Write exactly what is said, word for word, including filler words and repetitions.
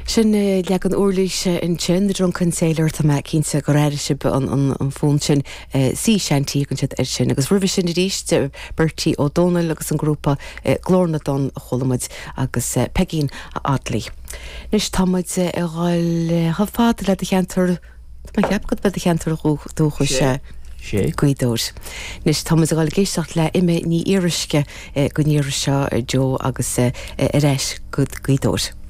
Sin leagan uirlise ansin The Drunken Sailor tá mé cinnte gur airigh sibh an, an, an fonn sin Sea Shanty an siad ar sin, agus roimhe sin arís Bertie Ó Dónaill agus an grúpa Glór na dTonn a chuala muid agus Pegeen Oddly. Anois tá muid ag dul chomh fada le do cheantar Tá mé ag ceapadh gurb é do cheantar dúchais Sé. Sé. Gaoth Dobhair. Anois tá muid ag dul ag éisteacht le Emma Ní Fhíoruisce go n-iarraidh seo Joe agus ar ais go Gaoth Dobhair.